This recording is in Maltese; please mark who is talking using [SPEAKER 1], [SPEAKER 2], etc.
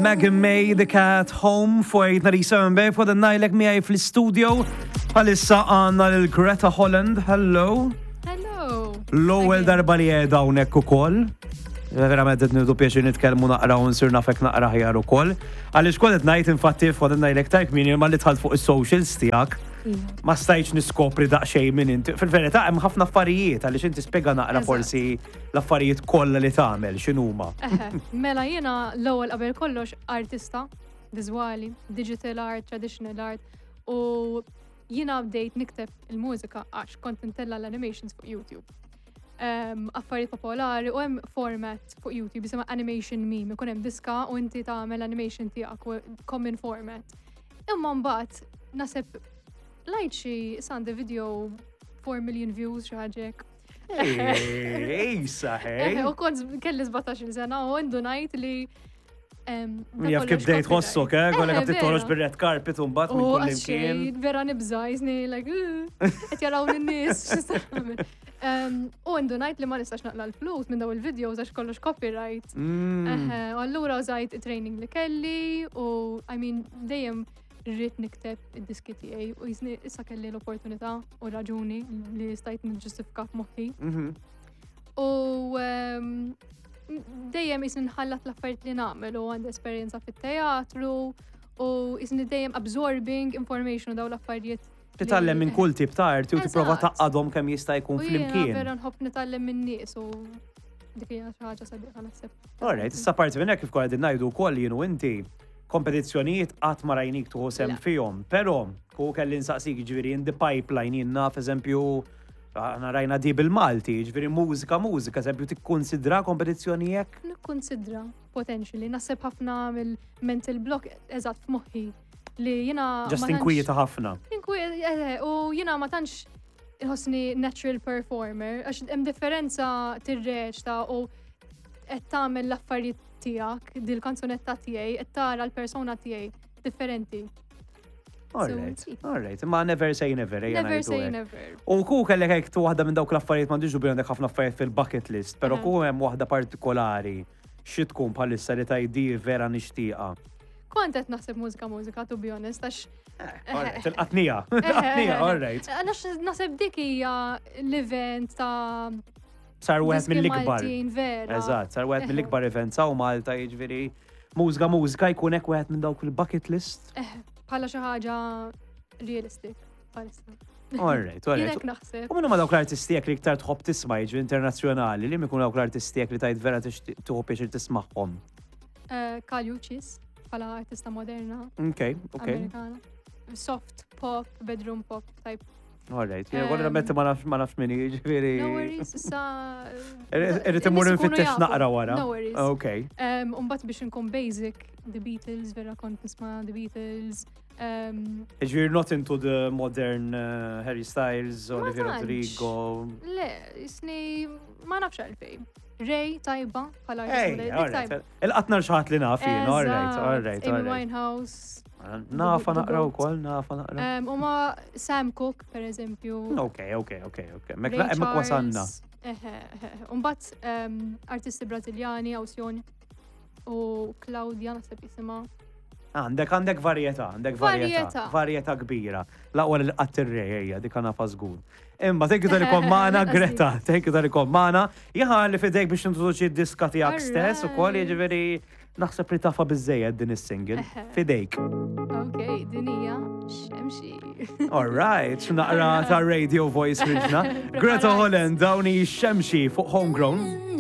[SPEAKER 1] Megan May, The Cat Home, fuq 897 Bay, fuq najlek miegħi fl-studio. Bħalissa għandna lil Greta Holland, hello.
[SPEAKER 2] Hello.
[SPEAKER 1] L-ewwel darba li qiegħda hawnhekk ukoll. Verament qed nieħdu pjaċir nitkellmu naqra u nsir nafek naqra aħjar ukoll. Għaliex kont qed ngħid infatti fuq ngħidlek tajk min ma li dħalt fuq is-socials tiegħek. Ma stajtx niskopri daqsxejn minn inti. Fil-verità hemm ħafna affarijiet għaliex inti spjega naqra forsi l-affarijiet kollha li tagħmel x'inhuma.
[SPEAKER 2] Mela jiena l-ewwel qabel kollox artista viżwali, digital art, traditional art u jiena bdejt nikteb il-mużika għax kont intella l-animations fuq YouTube. Affarijiet popolari u hemm format fuq YouTube jisimha animation meme, ikun hemm diska u inti tagħmel animation tiegħek u common format. Imma mbagħad naħseb lajt xi sandi video 4 million views xi ħaġa hekk.
[SPEAKER 1] Ejsa, hej.
[SPEAKER 2] U kont kelli 17 sena u indunajt li
[SPEAKER 1] Min jaf kif bdejt tħossok, eh? Kollek għabti toħroġ bil-red carpet u mbagħad minn kull imkien.
[SPEAKER 2] Vera nibża, jisni, like, qed jaraw n-nies. U indunajt li ma nistax naqla l-flus minn daw il-videos għax kollox copyright. U allura użajt it-training li kelli u, I mean, dejjem rrid nikteb id-diski tiegħi u jisni issa kelli l-opportunità u raġuni li stajt niġġustifika f'moħħi. U dejjem jisni nħallat l-affarijiet li nagħmel u għandi esperjenza fit-teatru u jisni dejjem absorbing information u daw l-affarijiet.
[SPEAKER 1] Titgħallem minn kull tip ta' arti u tipprova tgħaqqadhom kemm jista' jkun
[SPEAKER 2] U jiena
[SPEAKER 1] flimkien.
[SPEAKER 2] vera nħobb nitgħallem minn nies u dik hija xi ħaġa sabiħa naħseb.
[SPEAKER 1] Alright, issa parti minn hekk kif konna qegħdin ngħidu wkoll jien u inti kompetizzjonijiet qatt ma rajnik tieħu sehem
[SPEAKER 2] Le.
[SPEAKER 1] fihom, però ku kelli nsaqsik ġifieri in the pipeline jien naf eżempju aħna rajna di bil-Malti, ġifieri mużika mużika, eżempju tikkonsidra kompetizzjoni hekk?
[SPEAKER 2] Nikkonsidra potentially, naħseb ħafna mill-mental block eżatt f'moħħi li jiena
[SPEAKER 1] Just
[SPEAKER 2] ma tantx-
[SPEAKER 1] inkwieta ħafna.
[SPEAKER 2] U jiena ma tantx inħossni natural performer, għax hemm differenza tirreċta u qed tagħmel l-affarijiet tiegħek, dil-kanzunetta tiegħi, qed tara l-persona tiegħi differenti.
[SPEAKER 1] Alright,
[SPEAKER 2] see.
[SPEAKER 1] alright, ma never say never, ejja
[SPEAKER 2] Never
[SPEAKER 1] ngħidu
[SPEAKER 2] say
[SPEAKER 1] hekk.
[SPEAKER 2] never.
[SPEAKER 1] U ku kellek hekk tu waħda minn dawk l-affarijiet m'għandix dubju għandek ħafna affarijiet fil-bucket list, però ku hemm waħda partikolari xi tkun bħalissa li tgħid vera nixtieqha.
[SPEAKER 2] Kont qed naħseb mużika mużika, to be honest, għax
[SPEAKER 1] Alright, il-qatnija, il-qatnija, alright.
[SPEAKER 2] Għax naħseb dik hija l-event ta'
[SPEAKER 1] Sar wieħed
[SPEAKER 2] diski
[SPEAKER 1] mill-ikbar.
[SPEAKER 2] Maltin, vera.
[SPEAKER 1] Eżatt, sar wieħed mill-ikbar events hawn Malta jiġifieri mużika mużika jkun hekk wieħed minn dawk il-bucket list.
[SPEAKER 2] Bħala xi ħaġa realistic bħalissa.
[SPEAKER 1] Alright,
[SPEAKER 2] Jien
[SPEAKER 1] alright.
[SPEAKER 2] hekk naħseb.
[SPEAKER 1] U minnu ma dawk l-artisti jekk li iktar tħobb tisma' jiġri internazzjonali, li mikun dawk l-artisti jekk li tajt vera tixtieq tieħu pjaċir tismagħhom.
[SPEAKER 2] Kali Uchis bħala artista moderna
[SPEAKER 1] Ok.
[SPEAKER 2] Amerikana. Soft pop, bedroom pop type.
[SPEAKER 1] Alright, jena għolli nammetti ma nafx ma nafx minni, ġifieri.
[SPEAKER 2] No worries, issa.
[SPEAKER 1] Irrid immur
[SPEAKER 2] in-nies ikunu
[SPEAKER 1] nfittex
[SPEAKER 2] jafu.
[SPEAKER 1] naqra wara.
[SPEAKER 2] No worries.
[SPEAKER 1] Ok.
[SPEAKER 2] Umbat biex nkun basic, The Beatles, vera kont nisma' The Beatles.
[SPEAKER 1] Ġifieri not into the modern Harry Styles,
[SPEAKER 2] Ma
[SPEAKER 1] Olivia
[SPEAKER 2] tantx.
[SPEAKER 1] Rodrigo.
[SPEAKER 2] Le, jisni ma nafx għalfej. Ray tajba, bħala
[SPEAKER 1] Hey,
[SPEAKER 2] artista dik
[SPEAKER 1] alright.
[SPEAKER 2] tajba.
[SPEAKER 1] Il-qatna xaħat li naf jien, alright,
[SPEAKER 2] Eżatt,
[SPEAKER 1] alright,
[SPEAKER 2] Amy
[SPEAKER 1] alright.
[SPEAKER 2] Winehouse.
[SPEAKER 1] Nafa
[SPEAKER 2] The
[SPEAKER 1] naqra
[SPEAKER 2] Goat.
[SPEAKER 1] wkoll, nafa naqra.
[SPEAKER 2] U ma Sam Cooke, per eżempju.
[SPEAKER 1] Ok. Mek
[SPEAKER 2] Ray
[SPEAKER 1] hemmhekk wasanna.
[SPEAKER 2] Charles. Eħe, eħe. Umbat artisti brażiljani, Awsjon u Claudia naħseb jisimha.
[SPEAKER 1] Għandek varjetà, għandek varjetà.
[SPEAKER 2] Varjetà.
[SPEAKER 1] Varjetà kbira. L-aqwa li qatt ir-rej, dik nafa żgur. Imma thank you tal kont magħna,
[SPEAKER 2] Lanqas
[SPEAKER 1] Greta, thank you tal kont magħna. Jaħa li fidejk biex nintroduċi d-diska tiegħek stess ukoll,
[SPEAKER 2] Alright.
[SPEAKER 1] jiġifieri naħseb li tafa biżejjed din is-single. Fidejk.
[SPEAKER 2] Ok, din hija xemxi.
[SPEAKER 1] All right, naqra ta' radio voice ridna. Greta
[SPEAKER 2] Preparat.
[SPEAKER 1] Holland, dawni xemxi fuq Homegrown.